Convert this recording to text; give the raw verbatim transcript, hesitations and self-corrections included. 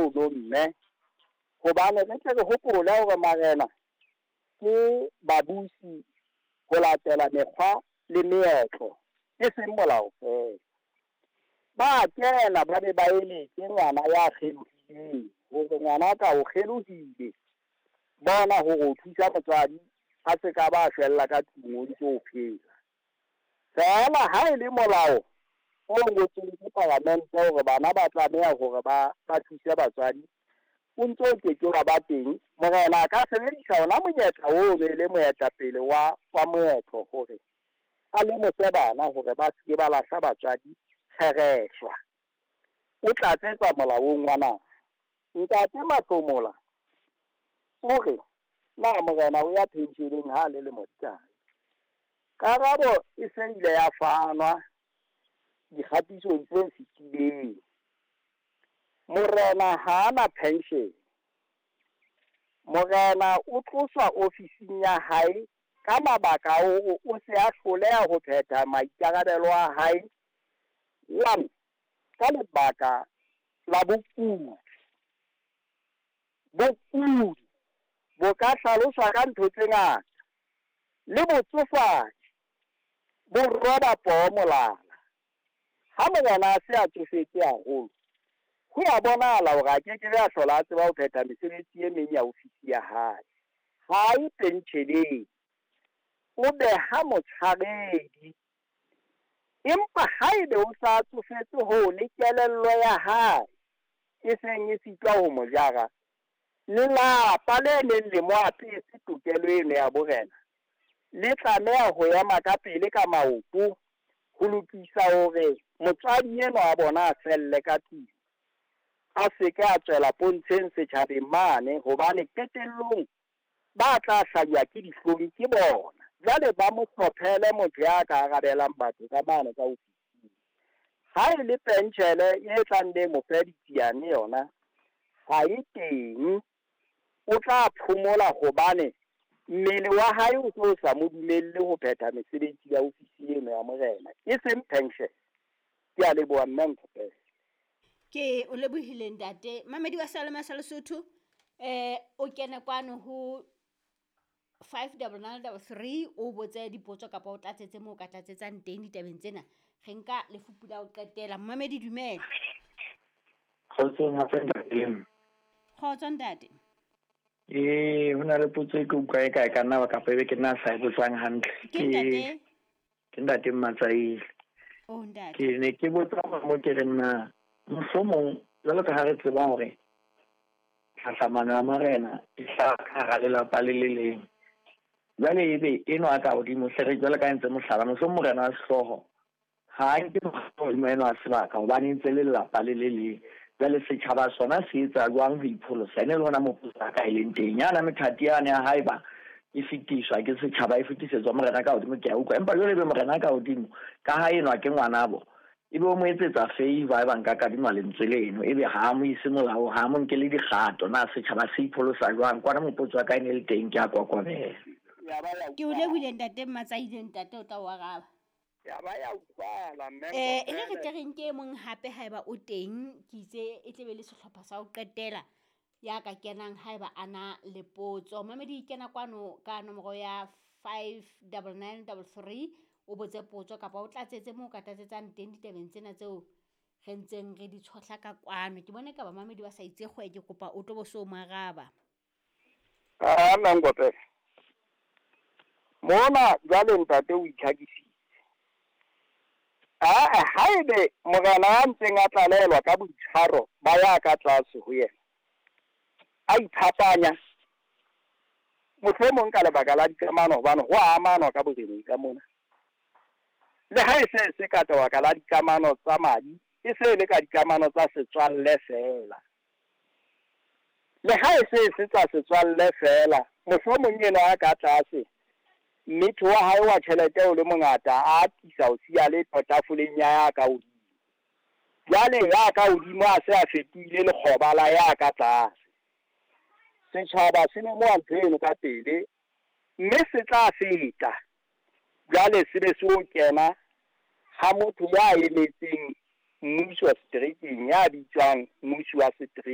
ono mme. Hobane re tle re hopole hore marena ke babusi ho latela mekgwa le meetlo, e seng molao feela. Ba kena ba be ba eletse ngwana ya kgelohileng hore ngwana ka o kgelohile, bona hore o thusa motswadi a se ka ba shwella ka tlung o ntse o phela. Feela ha e le molao o ngotsweng ke palamente hore bana ba tlameha hore ba ba thuse batswadi, o ntso o keke wa ba teng. Morena a ka sebedisa ona monyetla oo e le moetapele wa wa moetlo hore a lemose bana hore ba se ke ba lahla batswadi kgereshwa. O tlatsetsa molaong wa naha. Ntate Mahlomola o re na morena o ya pensheleng ha le lemo di kae? Karabo e se ile ya fanwa dikgatisong tse fetileng. Morena ha ana pension. Morena o tloswa ofising ya hae ka mabaka a hore o se a hloleha ho phetha maikarabelo a hae. One, ka lebaka la bokudi. Bokudi bo ka hlaloswa ka ntho tse ngata, le botsofadi bo roba poho molala. Ha morena a se a tsofetse haholo, ho ya bonahala hore a keke be a hlola a tseba ho phetha mesebetsi e meng ya ofisi ya hae. Ha e pensheleng, o beha motshwaredi. Empa haebe o sa tsofetse hoo le kelello ya hae e seng e sitwa ho mo jara, lelapa le leng le mo apese tokelo eno ya borena le tlameha ho ema ka pele ka maoto ho lokisa hore motswadi enwa wa bona a felle ka tlung, a se ke a tswela pontsheng setjhabeng mane, hobane qetellong ba tla hlajwa ke dihlong ke bona. Jwale ba mo hlophele motho ya ka arabelang batho ka mane ka ofising. Ha e le penshele e tlang le mo fe ditsiane yona ha e teng, o tla phomola hobane mmele wa hae o tlo sa mo dumelle ho phetha mesebetsi ya ofisi eno ya morena, e seng pension. Ke a leboha mme Nkopele. Ke o lebohile ntate. Mamedi wa Salema sa Lesotho, eh o kene kwano ho five double nine double three o botse dipotso kapa o tlatsetse moo o ka tlatsetsang teng ditabeng tsena. Re nka lefupu la ho qetela. Mamedi dumela. Kgotsong hape ntate. Kgotso ntate. Eh, ho na le potso e ke utlwa e kae ka nna ba kapa ebe ke nna sa e botsang hantle. Ke ntate. Ke ntate Mmatsaile. Oh ntate. Ke ne ke botsa hore mo ke re nna mohlomong jwalo ka ha re tseba hore tlhahlamano ya marena e hlaha ka hara lelapa le le leng. Jwale ebe enwa a ka hodimo hle re jwalo ka ntse mohlala, mohlomong morena wa sehlooho ha a nke hodimo enwa wa sebaka hobane ntse le lelapa le le leng. Jwale setjhaba sona se etsa jwang ho ipholosa? Ene le hona moo potso ya ka e leng teng. Yana methati yane ya haeba e fetiswa ke setjhaba, e fetisetswa morena ka hodimo, ke a utlwa. Empa jwale ebe morena ka hodimo ka ha enwa ke ngwanabo, ebe o mo etsetsa favor e bang ka kadima lentswe leno, ebe ha mo ise molao, ha mo nkele dikgato, na setjhaba se ipholosa jwang? Kwana mopotso wa ka e ne le teng, ke a kokomela. Ke o lebohile ntate Mmatsaile, ntate o tla o araba. Ya ba ya utlwala mme. Eh, e re tle re nke e mong hape haeba o teng, ke itse e tle be le sehlopha sa ho qetela ya ka kenang haeba a na le potso. Mamedi kena kwano ka nomoro ya five double nine double three o botse potso kapa o tlatsetse moo o ka tlatsetsang teng ditabeng tsena tseo re ntseng re di tshohla ka kwano. Ke bone ka ba mamedi ba sa itse kgwe, ke kopa o tlo bo so mo araba. Ah, nna Nkopele. Mona jwale ntate o itlhakisitse. Ah, haebe morena a ntseng a tlalelwa ka boitshwaro ba ya ka tlase ho yena, a iphapanya mohlomong ka lebaka la dikamano, hobane ho a amanwa ka boreneng ka mona. Le ha e se se ka lebaka la dikamano tsa madi, e se le ka dikamano tsa setswalle feela. Le ha e se se tsa setswalle feela, mohlomong ena a ka tlase mmetho wa hae wa tjhelete o le mongata, a atisa ho siya le tafoleng ya ya ka hodimo. Jwale ya ka hodimo a se a fetohile lekgoba la ya ka tlase. Setjhaba se lemoha ntho eno ka pele, mme se tla feta. Jwale se be se o kena ha motho ya emetseng mmuso wa seterekeng, ya bitswang mmusi wa setereke.